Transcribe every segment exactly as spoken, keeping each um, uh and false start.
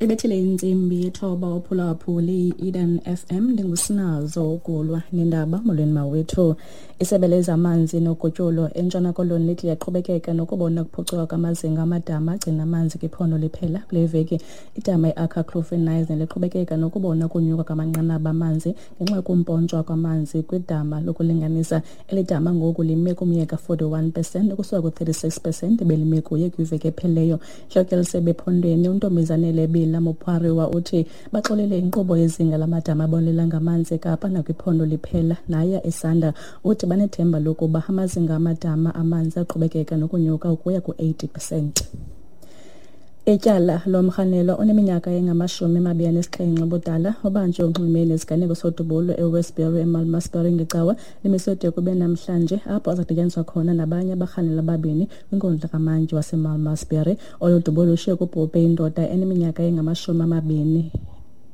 Ibethile intsimbi yethoba uphulaphuli i-Eden F M ndingusinazo ukulwa nendaba. Molweni mawethu. Isebe lezamanzi nogutyulo eNtshona Koloni lithi liyaqhubekeka nokubona ukuphucuka kwamazinga amadama agcina amanzi kwiphondo liphela kule veki. Idama i-Akkerkloof eNyasna liqhubekeka nokubona ukunyuka kwamanqanaba amanzi ngenxa yokumpontshwa kwamanzi kwidama lokulinganisa. Eli dama ngoku lime kumyeka forty-one percent ukusuka ku-thirty-six percent ebelime kuye kwiveki ephelileyo. Intloko yesebe ephondweni uNtombizanele Bila Mopariwa uthi baxolele inkqubo yezinga lamadama abonelela ngamanzi eKapa nakwiphondo liphela naya esanda. Uthi banethemba lokuba amazinga amadama amanzi aqhubekeka nokunyuka ukuya ku-eighty percent. Ityala lomrhanelwa oneminyaka engamashumi amabini anesixhenxe ubudala obanjwe unxulumene nesiganeko sodubulo eWestbury eMalmesbury ngecawa limiswe de kube namhlanje apho azakudityaniswa khona nabanye abarhanelwa ababini kwinkundla kamantyi waseMalmesbury. Olu dubulo lushiye kubhubhe indoda eneminyaka engamashumi amabini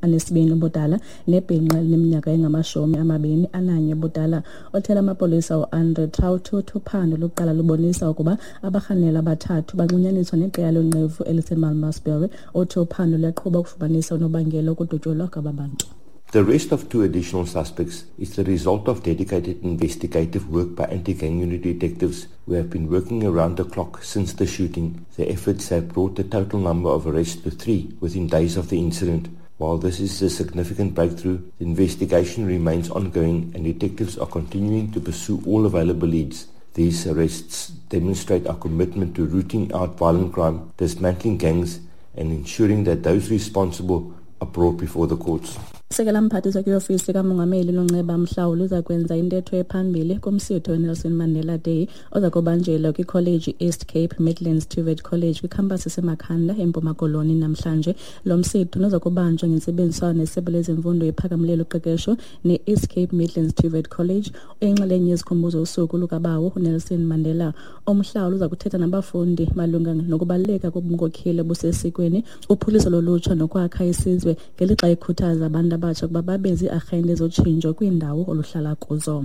anesibini ubudala nebhinqa elineminyaka engamashumi amabini ananye ubudala. Othela amapolisa uAndre Traut uthi uphando lokuqala lubonisa ukuba abarhanelwa abathathu banxunyaniswa neqela lonqevu eliseMalmesbury. Uthi uphando luyaqhuba ukufumanisa unobangela wokudutyulwa kwaba bantu. The arrest of two additional suspects is the result of dedicated investigative work by anti-gang unit detectives who have been working around the clock since the shooting. The efforts have brought the total number of arrests to three within days of the incident. While this is a significant breakthrough, the investigation remains ongoing and detectives are continuing to pursue all available leads. These arrests demonstrate our commitment to rooting out violent crime, dismantling gangs, and ensuring that those responsible are brought before the courts. Sekela mphathiswa kwiofisi kamongameli Nonceba Mhlawuli uza kwenza intetho ephambili kumsitho weNelson Mandela Day oza kubanjelwa kwikholeji East Cape Midlands TVET College kwikhampasi eseMakhanda eMpuma Koloni namhlanje. Lo msitho uza kubanjwa ngentsebenziswano nesebe lezemfundo ephakamileyo loqeqesho ne-East Cape Midlands TVET College oyinxalenye yezikhumbuzo usuku lukabawo uNelson Mandela. Umhlawuli uza kuthetha nabafundi malunga nokubaluleka kobunkokheli obusesikweni, uphuhliso lolutsha nokwakha isizwe ngelixa ekhuthaza abantu abatsha ukuba babe zii-arhente zotshintsho kwiindawo oluhlala kuzo.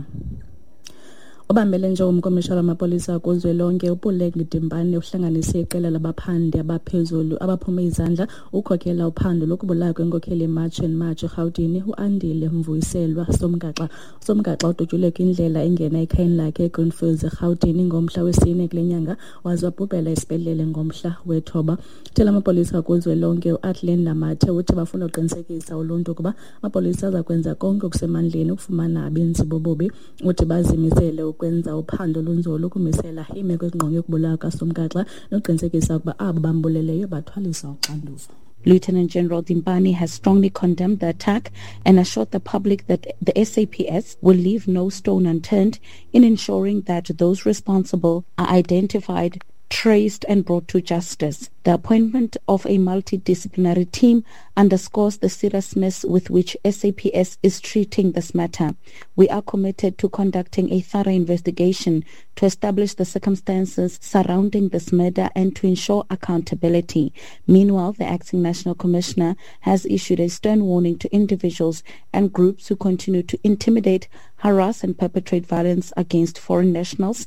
Obambele nje umkomishana wamapolisa kuzwelonke uPuleng Dimpane uhlanganise iqela labaphandi abaphezulu abaphume izandla ukhokela uphando lokubulawa kwenkokheli yeMarch and March eRhawutini uAndile Mvuyiselwa Somgaxa. Somgaxa udutyulwe kwindlela engena ekhayeni lakhe eGreenfields eRhawutini ngomhla wesine kule nyanga waze wabhubhela esibhedlele ngomhla wethoba. Uthela amapolisa kuzwelonke uAthlenda Mathe uthi bafuna uqinisekisa uluntu ukuba amapolisa aza kwenza konke okusemandleni ukufumana abenzi bobubi. Uthi bazimisele ukwenza uphando olunzulu ukumisela iimeko ezingqonge ukubulawa kaSomgaxa nokuqinisekisa ukuba abo bambuleleyo bathwaliswa uxanduva. Lieutenant General Dimpane has strongly condemned the attack and assured the public that the S A P S will leave no stone unturned in ensuring that those responsible are identified, traced and brought to justice. The appointment of a multidisciplinary team underscores the seriousness with which S A P S is treating this matter. We are committed to conducting a thorough investigation to establish the circumstances surrounding this murder and to ensure accountability. Meanwhile, the acting national commissioner has issued a stern warning to individuals and groups who continue to intimidate, harass and perpetrate violence against foreign nationals.